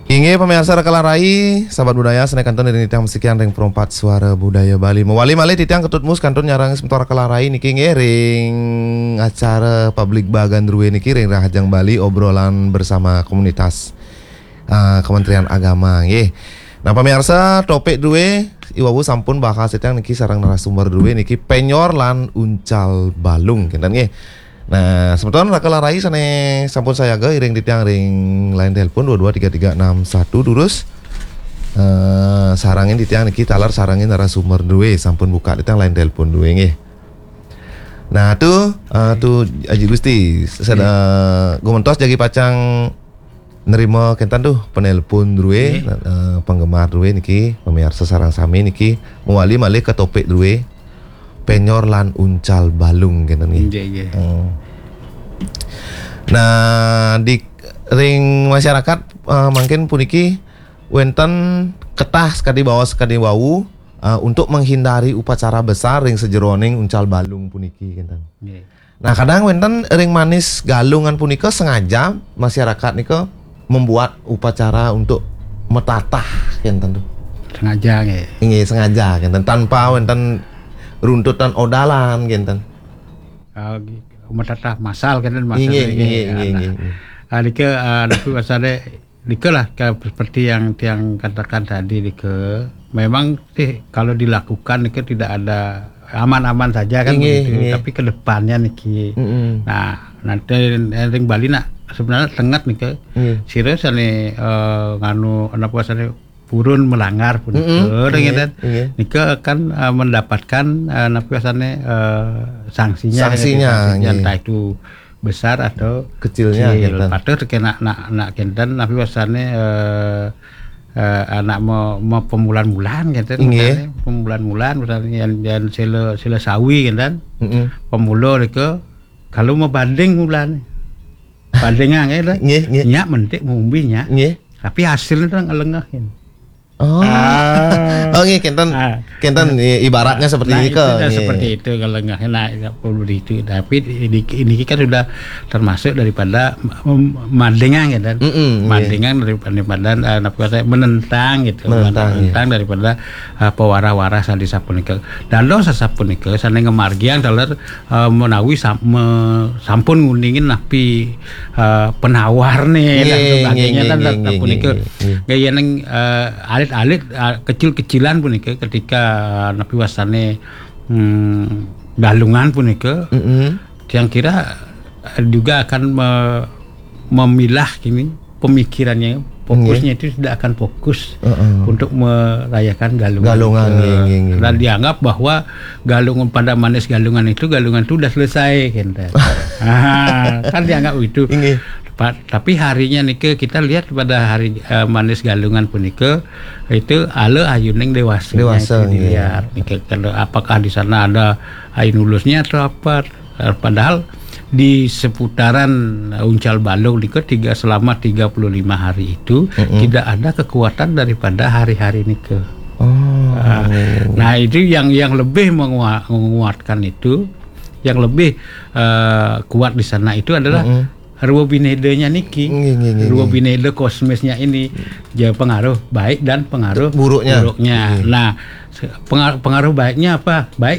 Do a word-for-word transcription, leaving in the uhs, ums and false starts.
Inggih pamiarsa Rakelarai, sahabat budaya, sané kantun ring titiang masikian ring Perempat Suara Budaya Bali. Mawali malih titiang Ketut Mus kantun nyarengin semeton Rakelarai niki inggih ring acara publik bagan drué niki ring Rahajeng Bali, obrolan bersama komunitas, ah, Kementerian Agama nggih. Nah, pamiarsa, topik drué iwau sampun bahas titiang niki sareng narasumber drué niki, penyor lan uncal balung kénten nggih. Nah, semeton Rakelarai sané sampun sayaga iring titiang ring line telepon dua dua tiga tiga enam satu, durus, eh, sarengin titiang niki taler sarengin narasumber drué, sampun buka titiang line telepon drué nggih. Nah, tu, eh, tu Aji Gusti, sada gumentos jagi pacang nerima kénten tu penelpon drué, eh, penggemar drué niki, pamiarsa sareng sami niki, mawali malih ka topik drué, penyor lan uncal balung kénten nggih. Nggih, nggih. Hmm. Nah, di ring masyarakat, eh, mangkin puniki wénten ketah sakadi baos sakadi wau, eh, untuk menghindari upacara besar ring sajeroning uncal balung puniki kénten. Nggih. Nah, kadang wénten ring manis galungan punika sengaja masyarakat nika membuat upacara untuk matatah kénten tu. Sengaja nggih. Inggih, sengaja kénten, tanpa wénten runtutan odalan kénten. Ah, nggih. Matatah masal kénten maksudnya. Inggih, inggih, inggih, nah, inggih, inggih. Ah, nika, ah, napi wastané nika lah, ka-, seperti yang tiang katakan tadi nika. Memang sih kalau dilakukan nika tidak ada, aman-aman saja kan. Inggih, begitu. Inggih. Tapi ke depannya niki. Mm-mm. Nah, nanti ring Bali nak sebenarnya tenget nika. Inggih. Sira sané, eh, nganu, napi wastané purun melanggar punika, mm-mm, nggih, gitu. Inggih. Nika akan, eh, mendapatkan, eh, napi wastané, eh, sanksinya, gitu. Sanksinya, sanksinya, nggih, entah itu besar atau kecilnya, kecil. Gitu. Patuh kénten nak, nak kénten, napi wastané, eh, eh, anak me-, me-, pemulan-mulan kénten, inggih, misalnya, pemulan-mulan misalnya yang, yang sila, sila sawi kénten, mm-mm, pemula nika, kalau mabanding mulan. Bandingan ya, dah. Nggih, nggih. Nyak mentik maumbi nyak. Nggih. Tapi hasilnya tu ngelengehin. Oh. Ah. Oh, nggih, kénten. Ah. Kénten, ya, ibaratnya seperti, nah, ini ke, itu dah, nggih, seperti itu kalau nggak enak, nggak perlu di itu. Tapi di, di, ini kan sudah termasuk daripada mem-, mandingan ya, dan, mm-mm, nggih, mandingan daripada, daripada, eh, apa kata, menentang gitu. Menentang, iya. Menentang daripada, eh, pewarah-warah sané sapunika. Dados sasapunika sané ngamargiang taler, eh, menawi sam-, me-, sampun nguningin napi, eh, penawarné dan, nggih, sebagainya, nggih, kan, nggih, nggih, punika, nggih, nggih, nggih, yen, eh, alit-alit, eh, kecil-kecilan punika ketika, eh, napi wastané, hmm, galungan punika, mm-mm, yang kira, eh, juga akan me-, memilah ini pemikirannya, fokusnya, nggih, itu tidak akan fokus, heeh, untuk merayakan galungan. Galungan, eh, nggih, nggih, nggih. Dan dianggap bahwa galungan, pada manis galungan itu, galungan itu udah selesai, gitu. Ah, kan dianggap itu. Nggih. Pa-, tapi harinya nika kita lihat pada hari, eh, manis galungan punika, itu ala ayuning dewasa. Dewasa, itu, nggih, dilihat. Nika, kalau apakah di sana ada ayun ulusnya atau apa? Eh, padahal di seputaran, eh, uncal balung nika tiga, selama tiga puluh lima hari itu, mm-mm, tidak ada kekuatan daripada hari-hari nika. Oh, ah, iya, iya. Nah, itu yang, yang lebih mengua-, menguatkan itu, yang lebih, eh, kuat di sana itu adalah, mm-mm, rwa binedanya niki. Nggih, nggih, nggih, rwa, nggih, bineda kosmisnya ini. Jadi pengaruh baik dan pengaruh buruknya. Buruknya. Nggih. Nah, se-, pengar-, pengaruh baiknya apa? Baik